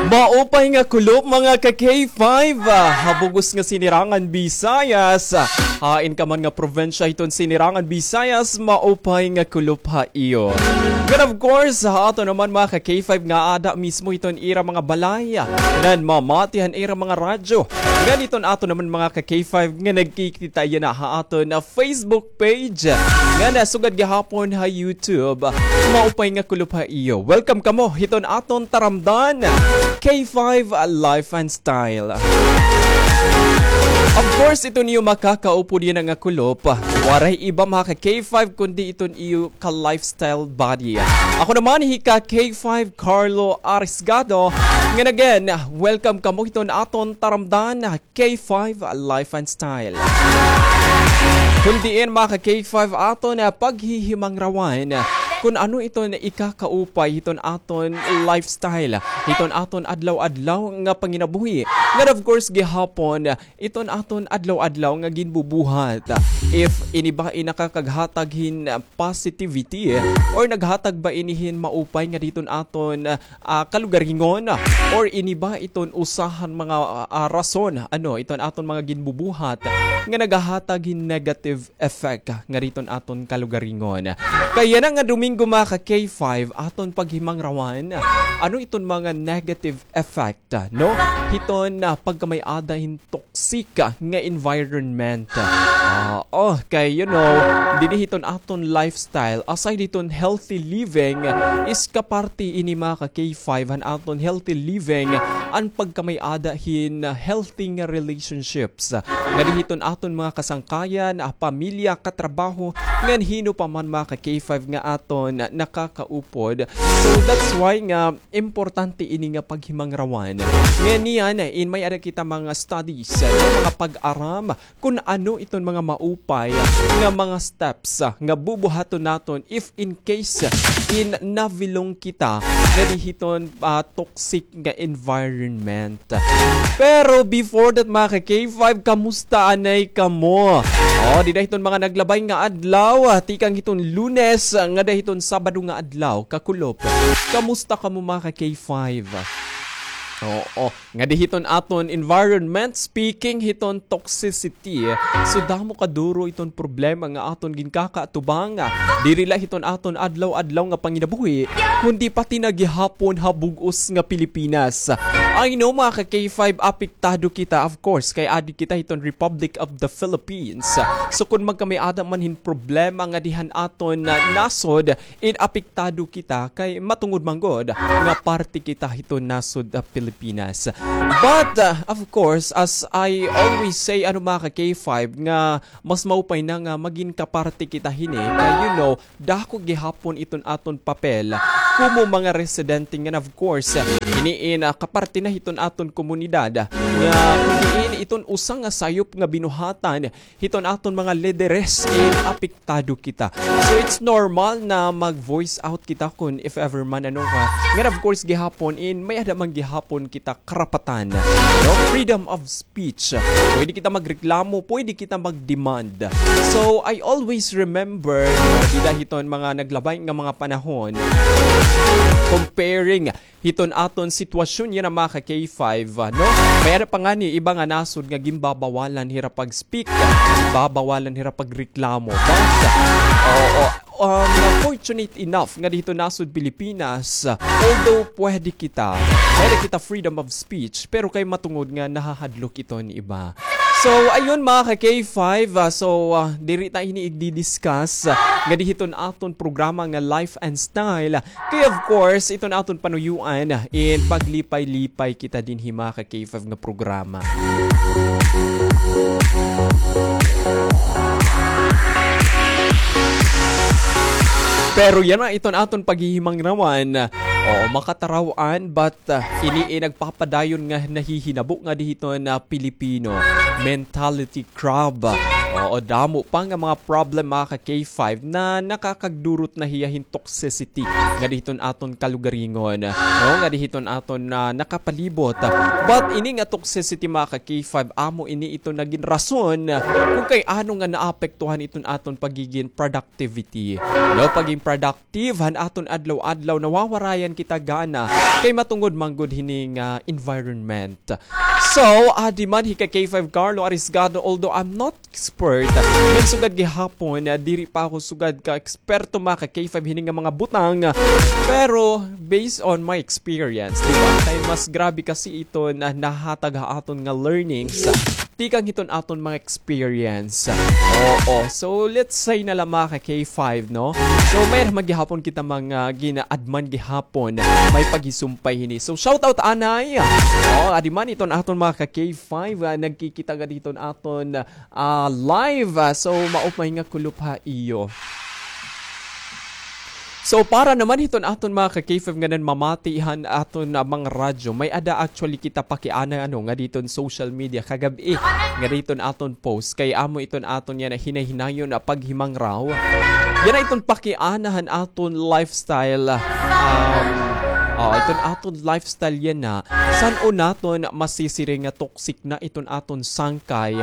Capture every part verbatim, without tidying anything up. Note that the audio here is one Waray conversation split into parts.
Maupay nga kulop, mga ka K five, ah, ha bug-os nga Sinirangan Visayas. Ah, hain ka man nga probinsya hiton Sinirangan Visayas, maupay nga kulop ha iyo. And of course, ha ato naman, mga ka K five, nga ada mismo hiton ira mga balay, ah, ngan mamati han ira mga radyo. Ngan hiton ato naman, mga ka K five, nga nagkikita yana ha aton, ah, Facebook page, ngan sugad gihapon ha YouTube. Maupay nga kulop ha iyo. Welcome kamo hiton aton taramdan, K five Life and Style. Of course, iton iyo makakaupod yana nga kulop, waray iba, mga ka K five, kundi iton iyo ka-lifestyle buddy. Ako naman hi ka K five Carlo Arisgado. Ngan again, welcome kamo hiton aton taramdan, K five Life and Style. Kon diin, mga ka K five, aton paghihimangrawan kon ano iton ikakaupay hiton aton lifestyle, hiton aton adlaw-adlaw nga panginabuhi. Ngan of course gihapon, iton aton adlaw-adlaw nga ginbubuhat. If ini ba in nakakaghatag hin positivity, or naghatag ba ini hin maupay nga hiton aton ah, kalugaringon, or ini ba iton usa han mga, ah, ah, rason, ano, iton aton mga ginbubuhat nga nagahatag hin negative effect nga hiton aton kalugaringon. Kay yana nga Domingo, mga ka K five, aton paghimangrawan, ano iton mga negative effect, no? Hiton, ah, pagkamay-ada hin toxic nga environment. Ah, oh, kay, you know, dinhi hiton aton lifestyle, aside hiton healthy living, is kaparti ini, mga ka K five, han aton healthy living, an pagkamay-ada hin healthy nga relationships. Nga dinhi hiton aton mga kasangkayan, ah, pamilya, katrabaho, ngan hin-o pa man, mga ka K five, nga aton nakakaupod. So that's why nga importante ini nga paghimangrawan. Ngan niyan, in may-ada kita mga studies, mga pag-aram, kon ano iton mga maupay nga mga steps, ah, nga bubuhaton naton if in case, ah, in nabilong kita nga dinhi hiton, ah, toxic nga environment. Pero before that, mga ka K five, kamusta anay kamo? Oh, dida hiton mga naglabay nga adlaw, ah, tikang hiton Lunes, ah, ngada hiton Sabado nga adlaw, kakulop. Kamusta kamo, mga ka K five? Oo. Ngadi hiton aton environment, speaking hiton toxicity, so damo kaduro iton problema nga aton ginkakaatubang. Diri la hiton aton adlaw-adlaw nga panginabuhi, kundi pati na gihapon ha bug-os nga Pilipinas. I know, mga ka K five, apektado kita, of course, kay adi kita hiton Republic of the Philippines. So kon magkamay-ada man hin problema ngadi han aton, ah, nasod, in apektado kita kay matungod man gud nga parte kita hiton nasod, ah, Pilipinas. But, ah, of course, as I always say, ano, mga ka K five, nga mas maupay na nga magin kaparte kita hini, kay, you know, dako gihapon iton aton papel komo mga residente, ngan of course, ini in, ah, kaparte na hiton aton komunidad, nga ini iton usa nga sayop nga binuhatan hiton aton mga lideres, in apektado kita. So it's normal na mag-voice out kita kon if ever man, ano, nga, ngan of course gihapon in may-ada man gihapon kita karapatan, no? Freedom of speech. Pwede kita magreklamo, pwede kita mag-demand. So I always remember, no, dida hiton mga naglabay nga mga panahon, comparing hiton aton sitwasyon yana, mga ka K five, ah, no? May-ada pa ngani iba nga nasod nga ginbabawalan hira pag-speak, ginbabawalan hira pagreklamo. But, oo, um, fortunate enough nga dida hiton nasod Pilipinas, ah, although pwede kita, pwede kita freedom of speech, pero kay matungod nga nahahadlok iton iba. So, ayun, mga ka K five, ah, so, ah, diri ta ini igdi-discuss, ah, ngadi hiton aton programa nga Life and Style. Kay of course, iton aton panuyuan, in paglipay-lipay kita dinhi, mga ka K five, nga programa. Pero yana iton aton paghihimangrawan. Oo, makataraw-an, but, ah, ini, eh, nagpapadayon nga nahihinabo ngadi hiton, ah, Pilipino mentality crab. Oo, O damo pa nga mga problem, mga ka K five, na nakakagdurot na hiya hin toxicity ngadi hiton aton kalugaringon, no? Ngadi hiton aton, ah, nakapalibot. But ini nga toxicity, mga ka K five, amo ini iton nagin rason kon kay ano nga naapektuhan iton aton pagigin productivity, no? Pagin productive han aton adlaw-adlaw, nawawarayan kita gana kay matungod man gud hini nga environment. So, adi man hi ka K five Carlo Arisgado, although I'm not expert, ngan sugad gihapon, ah, diri pa ako sugad ka eksperto, mga ka K five, hini nga mga butang. Pero, based on my experience, di ba? Kay mas grabe kasi iton nahatag ha aton nga learnings tikang hiton aton mga experience. Oo. So, let's say na la, mga ka K five, no? So, may man gihapon kita mga ginaadman gihapon. May paghisumpay hini. So, shout out anay. Oh, adi man iton aton mga ka K five, ah, nagkikita ngadi hiton aton, ah, live. Ah, so, maupay nga kulop ha iyo. So, para naman hiton aton mga ka K five nga nanmamati han aton, ah, mga radyo, may-ada actually kita pakiana, ano, ngadi hiton social media kagab-i, ngadi hiton aton post, kay amo iton aton yana hinay-hinayon na paghimangraw. Yana iton pakiana han aton lifestyle, um, oh, iton aton lifestyle yana, san-o naton masisiring nga toxic na iton aton sangkay,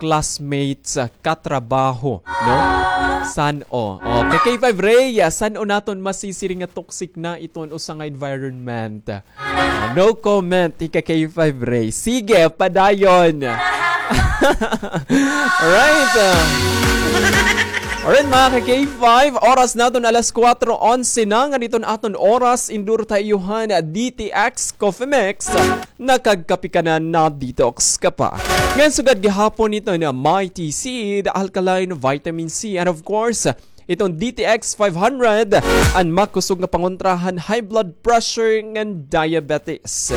classmates, katrabaho, no? San-o? Oh, ka K five Ray, ah, san-o naton masisiring nga toxic na iton usa nga environment? Ah, no comment, ika K five Ray. Sige, padayon. Alright, ah. Alright, mga ka K five, oras naton alas kuwatro onse na, ngadi iton aton oras, endure ta ha iyo han D T X Coffee Mix. Nakagkape ka na, na-detox ka pa. Ngan sugad gihapon iton Mighty Seed, alkaline vitamin C, and of course, iton D T X five hundred, an makusog nga pangontra han high blood pressure ngan diabetes.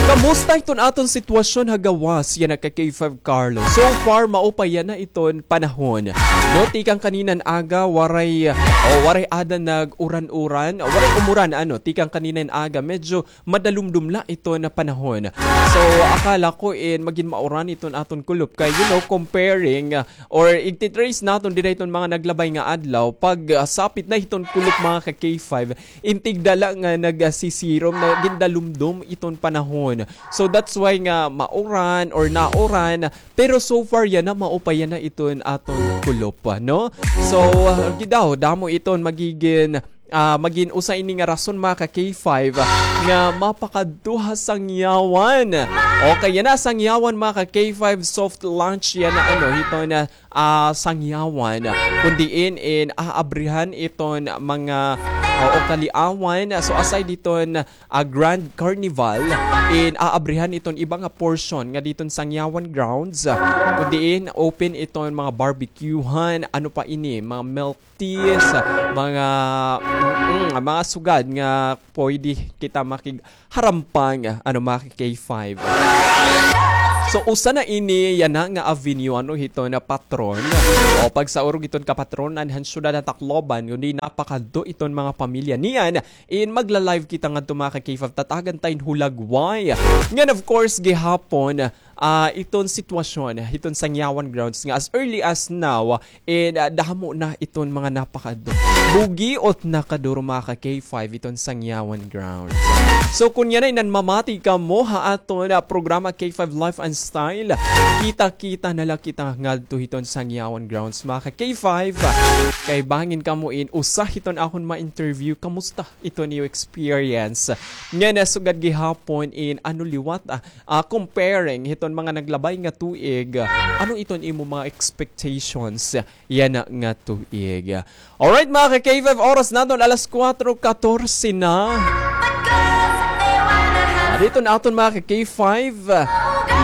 Kamusta iton aton sitwasyon ha gawas yana ka K five Carlo? So far, maupay yana iton panahon. No, tikang kaninan aga, waray, o, waray ada nag-uran-uran, waray umuran, ano, tikang kaninan aga, medyo madalumdom la iton panahon. So, akala ko in magin mauran iton aton kulop kay, you know, comparing, ah, or igti-trace naton dida iton mga naglabay nga adlaw, pag, ah, sapit na hiton kulop, mga ka K five, in tigda la nga nagsisirom, nagin dalumdom iton panahon. So, that's why nga mauran or nauran, pero so far yana, maupay yana iton aton kulop, no? So, ah, gidaw, damo iton magigin, ah, magin usa ini nga rason, mga ka K five, nga mapakadto ha Sangyawan. Okay, yana Sangyawan, mga ka K five, soft launch yana, ano, hiton, ah, Sangyawan. Kun diin in aabrihan iton mga, ah, o kaliawan. So, aside hiton, ah, Grand Carnival, in aabrihan iton iba nga portion ngadi hiton Sangyawan grounds, ah, kun diin open iton mga barbecuehan, ano pa ini, mga milk teas, mga, mm, mga sugad nga pwede kita makig harampang, ano, mga ka K five. So, usa na ini yana nga avenue, ano, hiton patron. O, pagsaurog hiton kapatronan han syudad han Tacloban, kundi napakadto iton mga pamilya niyan. In magla-live kita ngadto, mga ka K five, tatagan ta hin hulagway. Ngan, of course, gihapon, ah, iton sitwasyon hiton Sangyawan grounds nga as early as now, and, ah, damo na iton mga napakadto. Bugiot na kaduro, mga ka K five, iton Sangyawan grounds. So, kun yana nanmamati kamo ha aton, ah, programa K five Life and Style, kita-kita na la kita ngadto hiton Sangyawan grounds, mga ka K five. Kay bangin kamo in usa hiton akon ma-interview, kamusta iton iyo experience? Ngan, ah, sugad gihapon in ano liwat, ah, ah, comparing hiton mga naglabay nga tuig, ah, ano iton imo mga expectations yana nga tuig? Alright, mga ka K five, oras naton alas kuwatro katorse na. Ah, didto na aton, mga ka K five.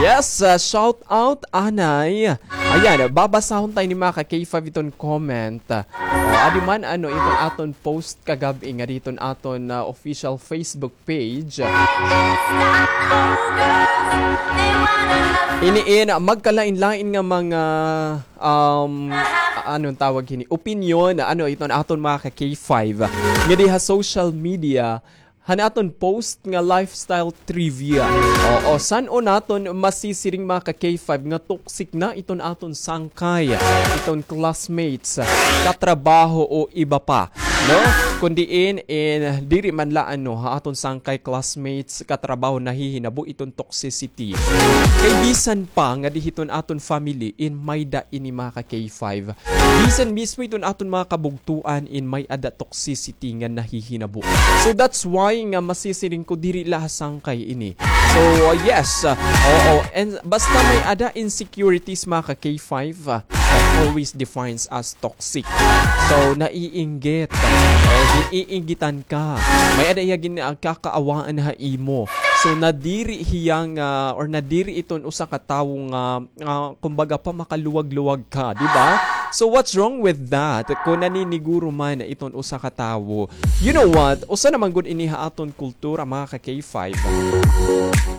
Yes, ah, shout out anay. Ayan, babasahon ta ini, mga ka K five, iton comment. Ah, adi man, ano, iton aton post kagab-i ngadi hiton aton, ah, official Facebook page. Ini in magkalain-lain nga mga, um, a-, ano tawag hini? Opinyon, ano, iton aton mga ka K five. Ngadi ha social media, han aton post nga lifestyle trivia. Oo, san-o naton masisiring, mga ka-K five, nga toxic na iton aton sangkay, iton classmates, katrabaho o iba pa, no? Kun diin in diri man la ano, ha aton sangkay, classmates, katrabaho nahihinabo iton toxicity. Kay bisan pa nga di hiton aton family in may-ada ini, mga ka-K five. Bisan mismo iton aton mga kabugtoan in may-ada toxicity nga nahihinabo. So that's why nga masisiring ko diri la ha sangkay ini. So, uh, yes, uh, oo. And basta may-ada insecurities, mga ka-K five, uh, that always defines as toxic. So, naiinggit. O, gin-iinggitan ka. May-ada hiya gin-, ah, kakaawaan ha imo. So, nadiri hiya nga, or nadiri iton usa ka tawo nga, ah, kumbaga pa, makaluwag-luwag ka, di ba? So, what's wrong with that? Kung naniniguro man iton usa ka tawo, you know what? Usa naman gud ini ha aton kultura, mga ka-K five.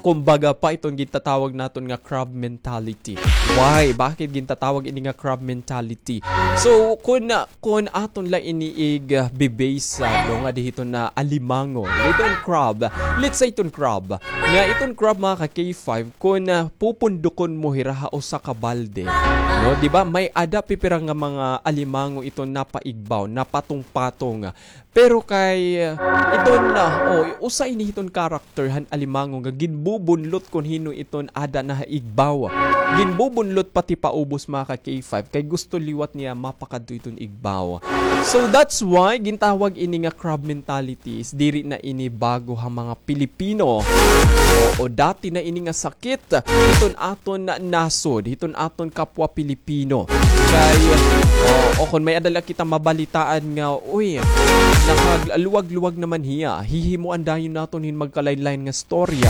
Kumbaga pa iton gintatawag naton nga crab mentality. Why? Bakit gintatawag ini nga crab mentality? So, kun, kun aton la ini ig, ah, bibase sa, no, nga di hiton na alimango. Iton crab. Let's say iton crab. Nga iton crab, mga ka-K five, kun, ah, pupundukon mo hira ha usa ka balde, no? Di ba? May-ada pipira nga mga alimango iton napaigbaw, napatong-patong. Pero kay, uh, iton na, o, usa ini hiton character han alimango nga ginbubunlot kun hin-o iton ada na ha igbaw. Ginbubunlot pati paubos, mga ka-K five, kay gusto liwat niya mapakadto iton igbaw. So that's why gintawag ini nga crab mentalities, diri na ini bago ha mga Pilipino. O, o dati na ini nga sakit hiton aton nasod, hiton aton kapwa Pilipino. Kay, o, o kun may-ada la kita mabalitaan nga, uy, nakaluwag-luwag naman hiya, hihimoan dayon naton hin magkalain-lain nga storya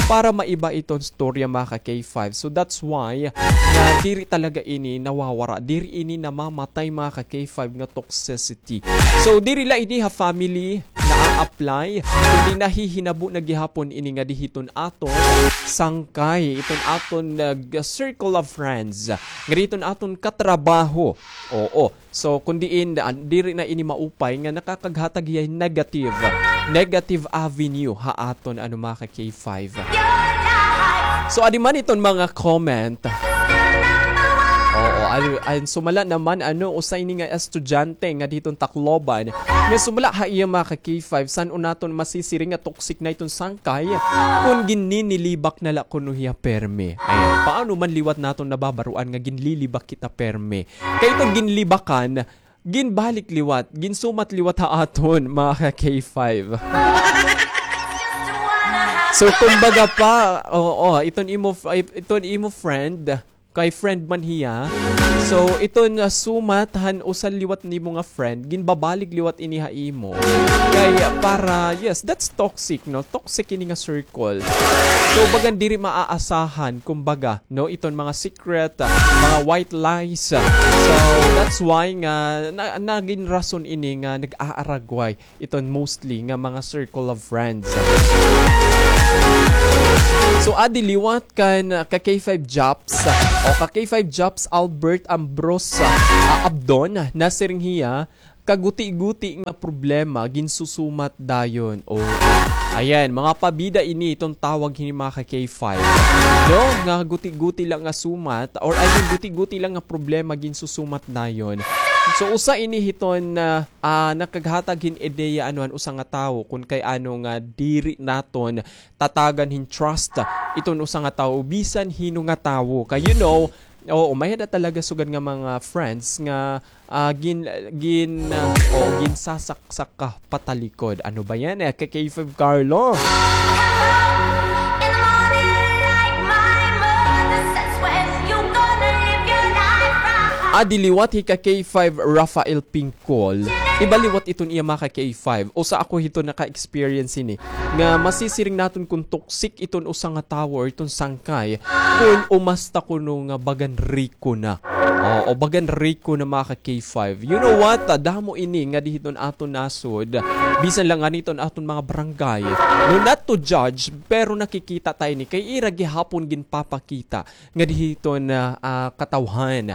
para maiba iton storya, mga ka-K five. So that's why nga diri talaga ini nawawara, diri ini namamatay, mga ka-K five, nga toxicity. So diri la ini ha family naa-apply, kundi nahihinabo na gihapon ini nga di hiton aton sangkay, iton aton, uh, circle of friends, nga di hiton aton katrabaho. Oo. So, kun diin, ah, diri na ini maupay nga nakakaghatag hiya hin negative, negative avenue ha aton, ano, mga ka-K five. So, adi man iton mga comment. Oo, ay, ay, sumala naman, ano, usa ini nga estudyante nga di hiton Tacloban. Nga sumala ha iya, mga ka-K five, san-o naton masisiring nga toxic na iton sangkay kun gininilibak na la kuno hiya permi. Ayan, paano man liwat naton nababaroan nga ginlilibak kita permi? Kay iton ginlibakan, ginbalik liwat, ginsumat liwat ha aton, mga ka-K five. So, kumbaga pa, oo, iton imo, iton imo friend, kay friend man hiya. So, iton, ah, sumat han usa liwat nimo nga friend, ginbabalik liwat ini ha imo. Kay, ah, para, yes, that's toxic, no? Toxic ini nga circle. So, bagan diri maaasahan, kumbaga, no, iton mga secret, ah, mga white lies. So, that's why nga na, nagin rason ini nga nag-aaragway iton mostly nga mga circle of friends. So, adi liwat kan, ah, ka-K five Japs, ah, o ka-K five Japs Albert Ambrose, ah, Abdon, nasiring hiya, kaguti-guti nga problema, ginsusumat dayon. O, ayan, mga pabida ini iton tawag hini mga ka-K five. No? Nga guti-guti lang nga sumat, or I mean, guti-guti lang nga problema, ginsusumat dayon. So, usa ini hiton, ah, ah, nakaghatag hin ideya, ano, han usa nga tawo, kun kay ano nga diri naton tatagan hin trust iton usa nga tawo, bisan hin-o nga tawo. Kay, you know, oo, may-ada talaga sugad nga mga friends nga ah, gin-, gin-, ah, o ginsasaksak ka patalikod. Ano ba yan, eh? Ka-K five Carlo. Adi liwat hi ka-K five Rafael Pingkol. Iba liwat iton iya, mga ka-K five. Usa ako hiton naka-experience hini. Nga masisiring naton kun toxic iton usa nga tawo or iton sangkay kun umasta kuno nga bagan riko na. Oo, bagan riko na, mga ka-K five. You know what? Ah, damo ini nga di hiton aton nasod. Bisan lang ngani hiton aton mga barangay. No, not to judge, pero nakikita ta ini. Kay ira gihapon ginpapakita nga di hiton, ah, ah, katawhan.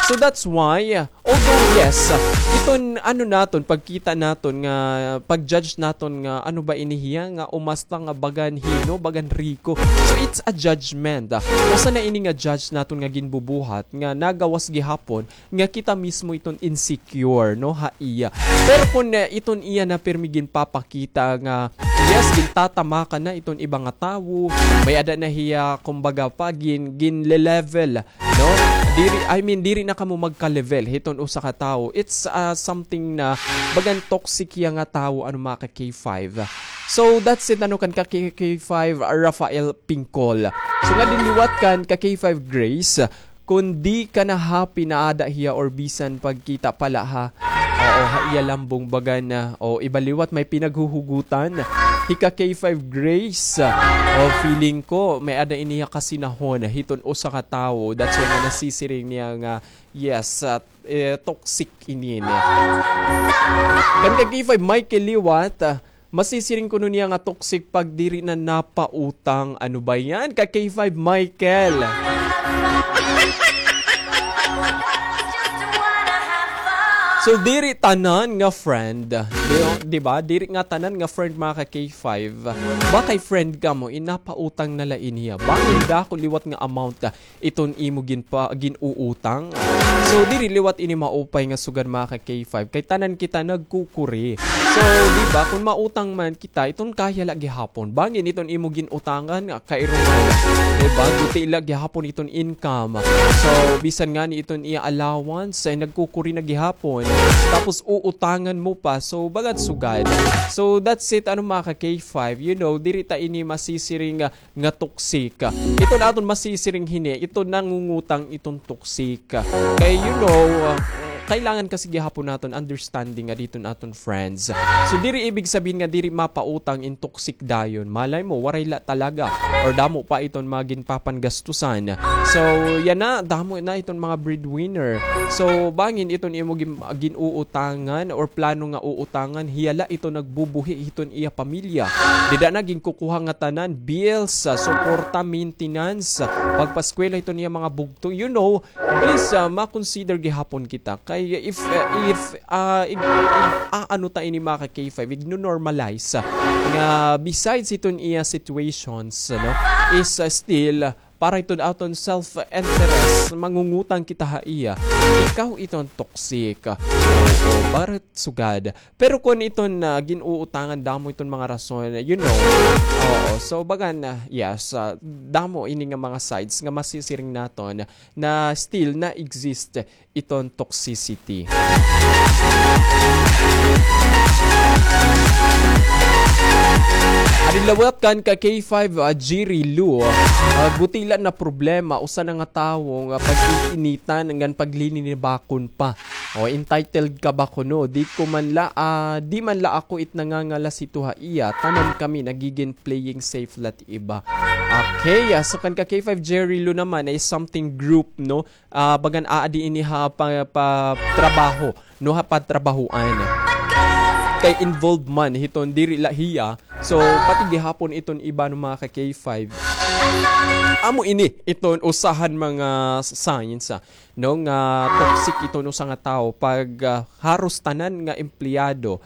So that's why, uh, although yes, uh, iton ano naton, pagkita naton nga, pag-judge naton nga ano ba ini hiya, nga umasta nga bagan hino, bagan riko. So it's a judgment. Uh, usa na ini nga judge naton nga ginbubuhat, nga nagawas gihapon, nga kita mismo iton insecure, no, ha iya. Pero kun, uh, iton iya na pirmi ginpapakita nga, yes, gintatamakan na iton iba nga tawo, may-ada na hiya, kumbaga pa, gin-, ginle-level, no? Diri, I mean, diri na kamo magka-level hiton usa ka tawo. It's, uh, something na bagan toxic hiya nga tawo, ano, mga ka K five. So, that's it, ano, kan ka K-, K five, Rafael Pingkol. So, nga dinliwat kan ka K five Grace, kun di ka na happy na ada hiya or bisan pagkita pala ha. Oo, ha iya lambong bagan na. O, iba liwat may pinaghuhugutan. Hi ka K five Grace. O, feeling ko, may-ada ini hiya kasinahon hiton usa ka tawo. That's why nga nasisiring niya nga, yes, ah, eh, toxic ini, eh. Kan ka K five Michael liwat, ah, masisiring kuno niya nga toxic pag diri na napautang. Ano ba yan? Ka K five Michael. So, diri tanan nga friend. Di, di ba? Diri nga tanan nga friend, mga ka K five. Bakay friend kamo, inapautang na la ini hiya. Bangin dako liwat nga amount, ah, iton imo ginpa-, gin-uutang. So, diri liwat ini maupay nga sugad, mga ka K five. Kay tanan kita nagkukuri. So, di ba, kun mautang man kita, iton kaya la gihapon. Bangin iton imo gin-utangan, nga kairuman. Di ba? Guti la gihapon iton income. So, bisan ngani iton iya allowance, ay nagkukuri na gihapon. Tapos, uutangan mo pa. So, bagat sugad. So, that's it, ano, mga ka K five. You know, diri ta ini masisiring, ah, nga toxic. Iton aton masisiring hini, iton nangungutang iton toxic. Kay, you know, uh, kailangan kasi gihapon naton understanding nga diton aton friends. So, diri ibig sabihin nga diri mapautang in toxic dayon. Malay mo, waray la talaga. Or damo pa iton mga ginpapanggastusan. So, yana, damo na iton mga breadwinner. So, bangin iton imo gin-, gin-uutangan or plano nga uutangan, hiya la ito nagbubuhi hiton iya pamilya. Dida na ginkukuha nga tanan, bills, ah, suporta, maintenance, ah, pagpaskwela hiton iya mga bugto. You know, please, ah, ma-consider gihapon kita. Kay if, ah, if, ah, ig-, ig-, ah, ano ta ini, mga ka K five, igno-normalize, ah, nga besides hiton iya situations, ano, is, ah, still, ah, para iton aton self-interest, mangungutang kita ha iya. Ikaw iton toxic. Oo, barat sugad. Pero kun iton, ah, gin-uutangan, damo iton mga rason, you know. Oo, so bagan, yes, ah, damo ini nga mga sides nga masisiring naton na still na-exist iton toxicity. Adi liwat kan ka K five, ah, Jerry Lu, ah, guti la na problema, usa na nga tawo nga pag-iinitan ngan paglinibakon pa. O, entitled ka ba kuno? Di ko man la, ah, di man la ako it nangangalas hito ha iya. Tanan kami nagigin playing safe la it iba. Okay, ah, so kan ka K five Jerry Lu naman ay something group, no? Ah, bagan aadi ini ha pa, pa trabaho, no, ha patrabahoan. Kay involved man hiton diri la hiya. So, pati gihapon iton iba, no, mga ka K five. Amo ini iton usahan mga signs, ah, no, nga toxic iton usa nga tawo pag, ah, haros tanan nga empleyado